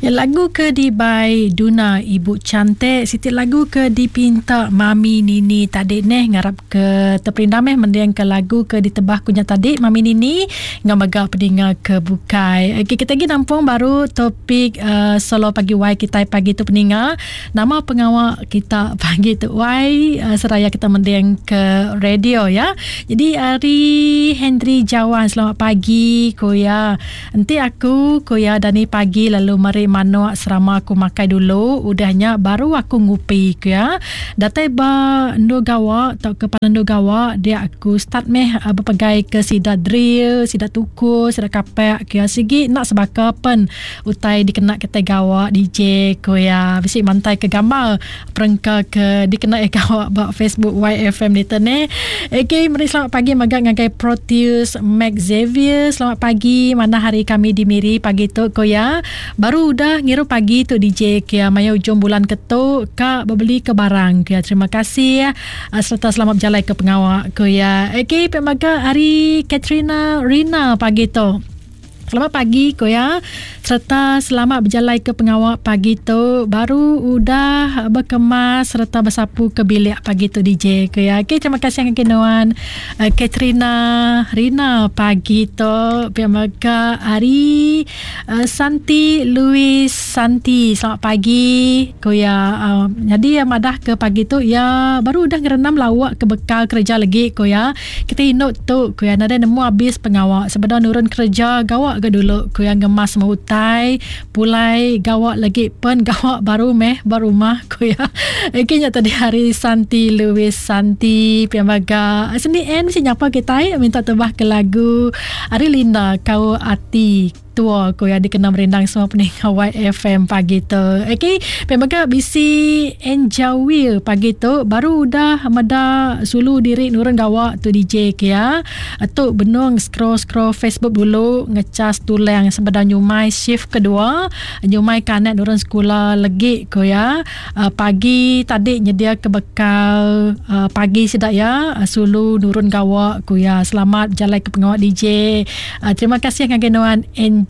Ya, lagu ke dibai Duna Ibu Cantik siti lagu ke dipinta Mami Nini tadi neh ngarap ke teperindang meh mending ke lagu ke ditebah ku nya tadi Mami Nini enggau mega peninga ke bukai. Okey kita agi nampung baru topik uh, solo pagi wai kitai pagi tu peninga. Nama pengawa kita pagi tu wai uh, seraya kita mending ke radio ya. Jadi ari Henry Jawan selamat pagi ku ya. Enti aku, ku iya dani pagi lalu meri manuk serama aku makai dulu, udah nya baru aku ngupi, ku iya. Datai ba endur gawa tauka palan endur gawa dia aku start meh bepegai ke sida drill, sida tuku, sida kapak, ku iya. Sigi enda sebaka pen utai dikena kitai gawa DJ, ku iya. Bisi mantai ke gambar perengka ke dikena iya gawa ba Facebook YFM ditu neh. Okey, meri selamat pagi mega ngagai Proteus Mac Xavier. Selamat pagi, manah hari kami di Miri pagi tu ko iya. Baru udah ngirup pagi tu DJ ke iya maya ujung bulan ke tu ka bebeli ke barang ke iya. Terima kasih serta selamat bejalai ke pengawa ko iya. Okey, pia mega ari Katrina Rina pagi tu. Selamat pagi ko iya sereta selamat bejalai ke pengawa pagi tu baru udah bekemas sereta besapu ke bilik pagi tu DJ ko iya. Okey terima kasih ngagai nuan uh, Katrina Rina pagi tu pia mega ari uh, Santi Louis Santi selamat pagi ko iya uh, nyadi iya madah ke pagi tu iya baru udah ngerendam lauk ke bekal kereja legi ko iya. Kita indu tu, ku iya, nadai nemu abis pengawa sebedau nurun kereja gawa ga dulu, ku iya ngemas semua utai, pulai gawa lagi pen gawa baru meh ba rumah, ku iya. Agi nya tadi hari Santi Louis Santi pia mega sendi en bisi nyapa kitai minta tebah ke lagu ari Linda Kaul Ati. Tua ko iya dikena merindang semua peninga YFM pagi tu. Okey, pia mega bisi Enjawil pagi tu baru udah meda sulu diri nurun gawa tu DJ ke iya. Tu benung scroll-scroll Facebook dulu ngecas tulang sebedau nyumai shift kedua nyumai ke anak nurun sekula legi ko iya. Pagi tadi nyedia ke bekal pagi sida iya sulu nurun gawa ku iya. Selamat bejalai ke pengawa DJ. Terima kasih ngagai nuan Enja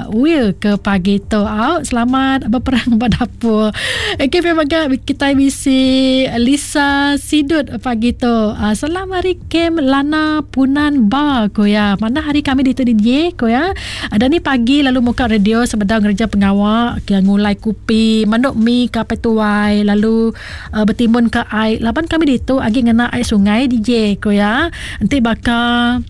Will ke pagi tu. Au selamat beperang ba dapur. Okey pia mega kitai bisi Lisa Sidut pagi tu. Salam ari kem Lana Punan Ba ku iya. Manah hari kami ditu DJ ku iya. Dani pagi lalu muka radio sebedau ngereja pengawa ke ngulai kupi, manuk mi ke apai tuai lalu betimbun ke ai laban kami ditu agi ngena ai sungai DJ ku iya. Enti baka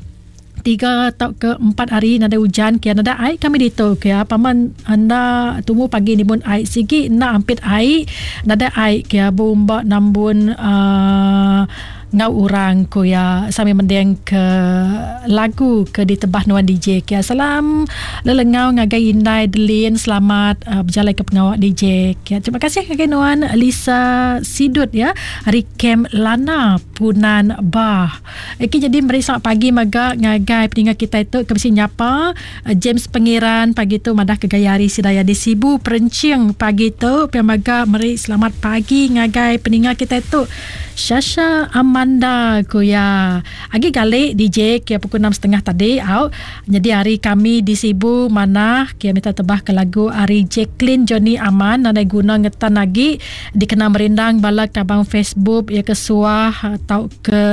tiga tauka empat hari nadai ujan kia nadai ai kami ditu kia paman enda tumu pagi nimbun ai sigi enda ampit ai nadai ai kia beumba nambun uhh enggau orang ku iya sambil mending ke lagu ke ditebah nuan DJ kia salam lelengau ngagai indai Delin selamat uhh bejalai ke pengawa DJ kia terima kasih ngagai nuan Lisa Sidut ya ari Kem Lana Punan Bah. Okey jadi meri selamat pagi mega ngagai peninga kitai tu ke bisi nyapa James Pengiran pagi tu madah ke gaya hari sida iya di Sibu Perenching pagi tu pia mega meri selamat pagi ngagai peninga kitai tu Shasha Amanda ku iya. Agi gali DJ kia pukul enam setengah tadi au. Nyadi hari kami di Sibu manah kia minta tebah ke lagu ari Jacklyn Johnny Aman nadai guna ngetan agi dikena merindang bala kaban Facebook iya ke suah tauka ke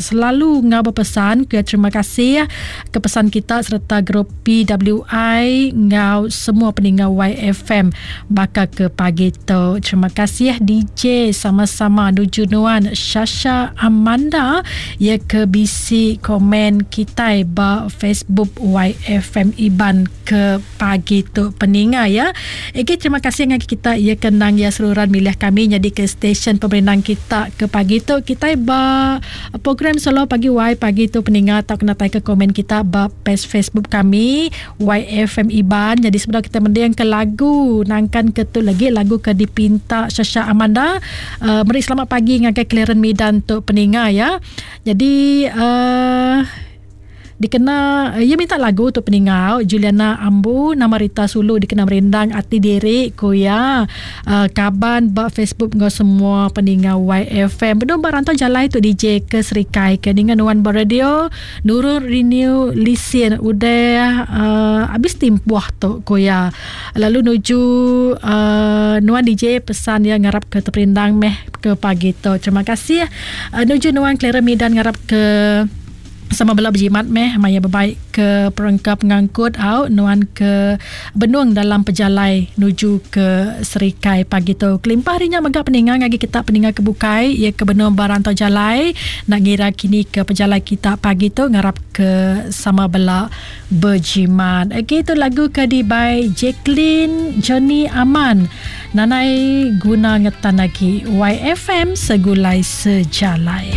selalu enggau bepesan ke terima kasih ke pesan kita sereta grup PWI enggau semua peninga YFM baka ke pagi tu. Terima kasih DJ sama-sama nuju nuan Shasha Amanda ya ke bisi komen kitai ba Facebook YFM Iban ke pagi tu peninga ya. Egi terima kasih ngagai kita ya ke endang ya seruran milih kami nyadi ke stesen pemerindang kita ke pagi tu kitai ba program solo pagi Y pagi tu peninga tau kena tai ke komen kita ba page Facebook kami YFM Iban. Jadi sebedau kita mending ke lagu nangkan ke tu lagi lagu ke dipinta Shasha Amanda uh, meri selamat pagi ngagai Clarence Midan tu peninga ya. Jadi uh, Dikena iya minta lagu tu peninga Juliana Ambu nama Rita Sulu dikena merindang ati diri ku iya uh, kaban ba Facebook enggau semua peninga YFM. Benung ba rantau jalai tu DJ ke Serikai ke ninga nuan ba radio nurun renew lisin udah uh, habis timpuh tu ku iya. Lalu nuju uh, nuan DJ pesan iya ngarap ke teperindang meh ke pagi tu. Terima kasih uh, nuju nuan Clara Midan ngarap ke Sama bela bejimat meh maya bebai ke perengka pengangkut au nuan ke benung dalam pejalai nuju ke Serikai pagi tu. Kelimpah ari nya mega peninga ngagai kita peninga ke bukai iya ke benung ba rantau jalai enda ngira kini ke pejalai kita pagi tu ngarap ke sama bela bejimat. Okey tu lagu ke dibai Jacqueline Johnny Aman nanai guna ngetan agi YFM segulai sejalai.